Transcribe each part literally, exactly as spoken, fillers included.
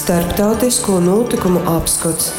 Starptautisko nūtykumu apskots.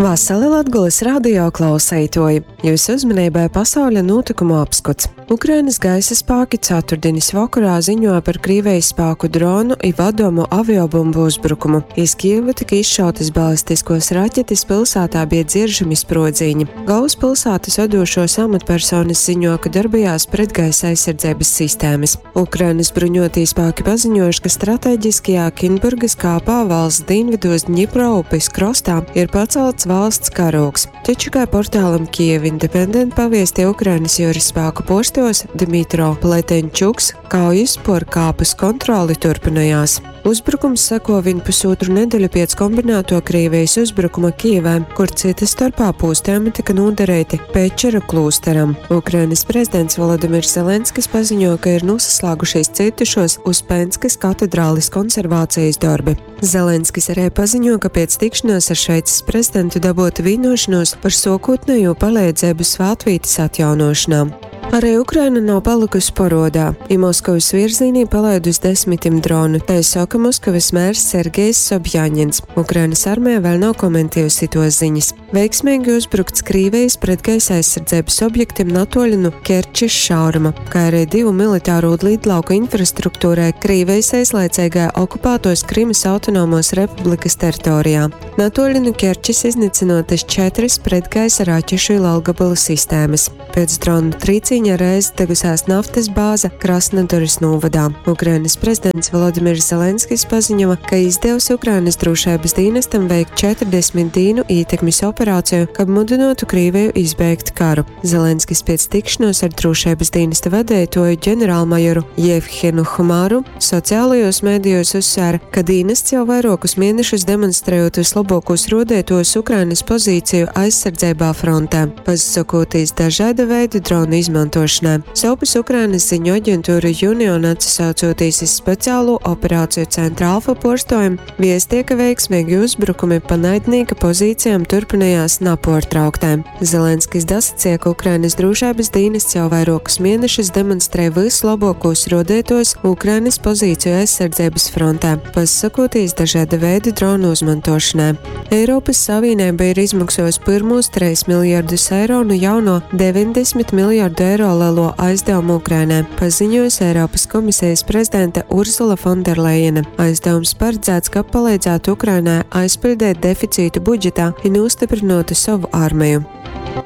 Vasali Latgolys radio klauseituoji! Jūsu uzmanībai pasauļa nūtykumu apskots. Ukrainas gaisa spāki ceturtdienas vakarā ziņoja par Krīvijas spāku dronu i vadomu aviobumbu uzbrukumu. Iz Kijevu tika izšautas balistiskos raķetes, pilsētā bija dzieržami sprodziņi. Galvaspilsētas vadošos amatpersonas ziņo, ka darbojās pretgaisa aizsardzības sistēmas. Ukrainas bruņotie spēki paziņojuši, ka strateģiskajā Kinburgas kāpā valsts dienvidos Dņipro upes krostā ir pacelts valsts karogs. Taču, kā portālam Kiev Independent paviestīja Ukrainas jūras spēku postos Dmitro Pletenčuks, kaujas por kāpas kontroli turpinājās. Uzbrukums seko vien pusotru nedēļu pēc kombinēto Krievijas uzbrukuma Kijevē, kur cita starpā pūstējumi tika nodarīti Pečera klūsteram. Ukrainas prezidents Volodimirs Zelenskis paziņo, ka ir nosaslēgušies cietušos Uspenskas katedrālis konservācijas darbi. Zelenskis arī paziņo, ka pēc tikšanās ar Šveices prezidentu dabūta vienošanos par sākotnējo palīdzību svētvītes atjaunošanā. Arī Ukraina nav palikusi porodā, ja Moskavas virzienī palaidus desmitiem dronu, tā saka Moskavas mērs Sergejs Sobjaņins. Ukrainas armija vēl nav komentējusi tos ziņas. Veiksmīgi uzbrukts Krīvijas pretgaisa aizsardzības objektiem natoļi no Kerčes šauruma, kā arī divu militāro lidlauku infrastruktūrai Krīvijas aizlaicīgā okupētos Krimas autonomos republikas teritorijā. Natoļi no Kerčes iznīcinotas četras pretgaisa raķešu lielgabalu sistēmas. Pēc dronu trīciņa reiz degusās naftas bāze Krasnodaras novadā. Ukrainas prezidents Volodimirs Zelenskis paziņoja, ka izdevusi Ukrainas drošības dienestam veikt četrdesmit dienu ietekmes operāciju, kab mudinātu Krieviju izbeigt karu. Zelenskis pēc tikšanos ar drošības dienesta vadītāju ģenerālmajoru Jevhenu Humāru sociālajos mēdījos uzsvēra, ka dienests jau vairākus mēnešus demonstrējot vislabākos rodētos Ukrainas pozīciju aizsardzībā frontē, pasakoties dažāda veida dronu izmantošanai. Savpus Ukrainas ziņu aģentūra Union atsaucoties iz speciālo operāciju centra Alfa porstojumu, viestie, ka veiksmīgi uzbrukumi pa naidnieka pozīcijām turpinājās napārtrauktē. Zelenskis dasacīja, ka Ukrainas drošības dienests jau vairākus mēnešus demonstrē vislabākos rodētos Ukrainas pozīciju aizsardzības frontē, pasakoties dažāda veida dronu izmantošanai. Eiropas Savienība ir izmaksājusi pirmos trīs miljardus eiro no jauno deviņdesmit miljardu eiro lielo aizdevumu Ukrainai, paziņojusi Eiropas komisijas prezidente Ursula Fonderlejena. Aizdevums paredzēts, ka palīdzētu Ukrainai aizpildīt deficītu budžetā un nostiprinātu savu armiju.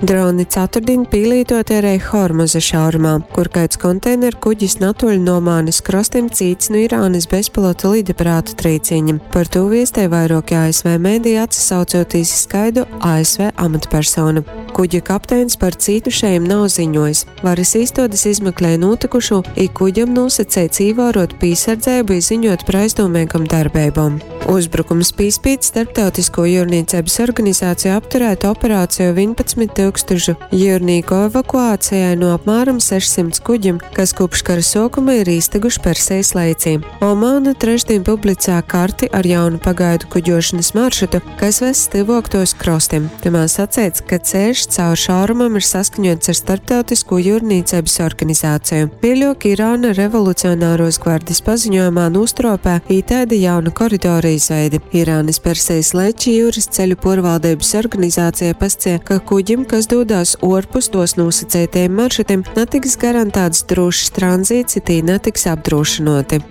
Droni ceturtdien pielītot arī Hormuza šaurumā, kur kāds konteineru kuģis natoļ no Omānas krastiem cīts no Irānas bezpilota lidaparātu trīciņa. Par to viestē vairāki A S V mēdī atsaucoties iz skaidu A S V amatpersonu. Kuģa kapteinis par cietušajiem nav ziņojis. Varas īstodes izmeklē notikušo, i kuģam nosacīts ievērot piesardzību i ziņot par aizdomīgam darbībām. Uzbrukums pīspīt starptautisko jūrniecības organizāciju apturēt operāciju vienpadsmit tūkstošu jūrnieku evakuācijai no apmēram sešsimt kuģiem, kas kopš kara sākuma ir īsteguši Persijas leicī. Omāna trešdien publicē karti ar jaunu pagaidu kuģošanas maršrutu, kas ves tuvāk tos krastiem. Tamā sacīts, ka ceļš caur šaurumam ir saskaņots ar starptautisko jūrniecības organizāciju. Vēlāk Irāna revolucionāros gvardes paziņojumā nostropē ītēda jaunu koridoru izveidi. Irānas Persijas leči jūras ceļu porvaldības organizācija pascie, ka kuģim, kas dodās orpus tos nosacītajiem maršrutiem, netiks garantēts drošs tranzīts, it netiks apdrošinoti.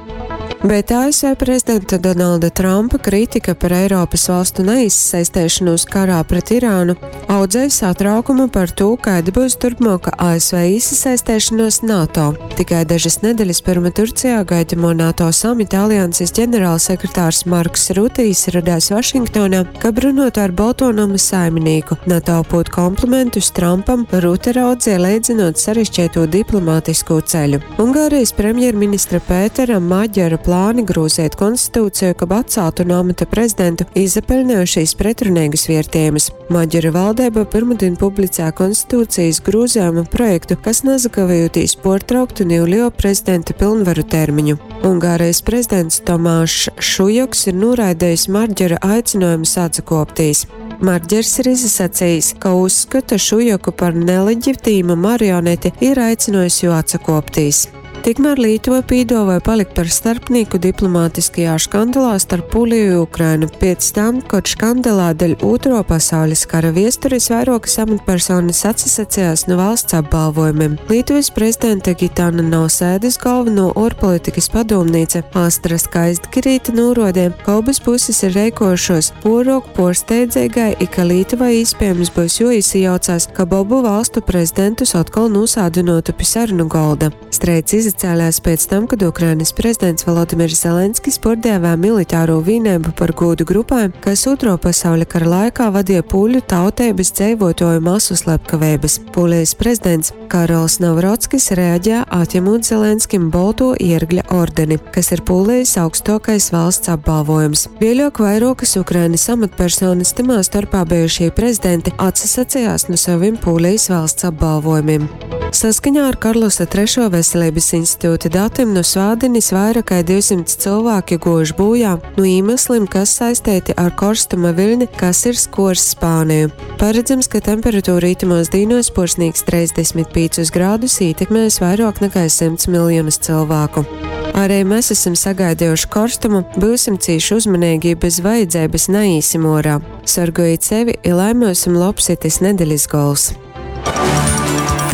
Bet A S V prezidenta Donalda Trumpa kritika par Eiropas valstu neizsaistēšanos karā pret Irānu audzēja satraukumu par to, kāda būs turpmāka A S V iesaistēšanos NATO. Tikai dažas nedēļas pirma Turcijā gaidamo NATO samita alianses ģenerālsekretārs Marks Rutijs radās Vašingtonā, kab runātu ar Balto nama saimnieku. NATO pūt komplimentus Trumpam, Rute raudzīja leidzinot sarežģīto diplomātisko ceļu. Ungārijas premjerministra Pētera Maģera plāni grūzēt konstitūciju, kab atceltu no amata prezidentu, izapeļņojušies pretrunīgus vērtējumus. Maģera valdība pirmdien publicē konstitūcijas grūzējuma projektu, kas nezakavējoties portrauktu Nīlio prezidenta pilnvaru termiņu. Ungārijas prezidents Tomāšs Šujoks ir noraidījis Maģera aicinājumu atsakoptīs. Maģers ir izsacījis, ka uzskata Šujoku par neleģitīmu marioneti ir aicinājis jo atsakoptīs. Tikmēr Lītuva pīduovuoja palikt par starpnīku diplomātiskajā škandalā starp Pūliju i Ukrainu piec tam, kod škandalā deļ Ūtruo pasaulis kara viesturis vairuokys amatpersonys atsasacejās nu valsts apbalvojumim. Lītuvys prezidenta Gitana Nausēdys golvonuo uorpolitikys padūmnīca Astra Skaistgirīte nūruodeja, ka obys pusis ir reikuojušuos puoruok puorsteidzeigai i ka Lītuvai īspiejams byus juoīsajaucās, kab obu valstu prezidentus otkol nūsādynuotu pi sarunu golda. Streids izacēlēs pēc tam, kad Ukrainas prezidents Volodimirs Zelenskis puordēvēja militāro vīneibu par gūdu grupai, kas Ūtruo pasauļa kara laikā vadīja pūļu tauteibys dzeivuotuoju masu slepkaveibys. Pūlijas prezidents Karols Navrockis reaģēja, atjemūt Zelenskim Bolto iergļa ordeni, kas ir Pūlijas augstuokais valsts apbalvojums. Vieļuok vairuokys Ukrainas amatpersonys, tymā storpā bejušī prezidenti, atsasacejās nu sovim Pūlijas valsts apbalvojumim. Saskaņā ar Karlosa Trešo veselības institūta datiem nu svātdinis vaira kai divsymts cylvāki guojuši būjā nu īmeslim, kas saisteiti ar korstuma viļni, kas ir skuors Spāniju. Paredzams, ka temperatūra itamos dīnuos puorsnīgs treisdesmit pīcus grādus, ītekmēs vairuok nakai symts miljonus cylvāku. Arī mēs esam sagaidejuši korstumu, byusim cīši uzmaneigi i bez vajadzeibys naīsim uorā. Sorgojit sevi i lai myusim lobs itys nedelis gols!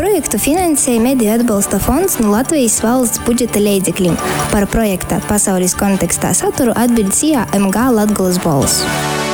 Projektu finansēja Mediju atbalsta fonds nu Latvejis valsts budžeta leidzeklim. Par projekta Pasaulis kontekstā saturu atbiļd S I A M G Latgolys Bolss.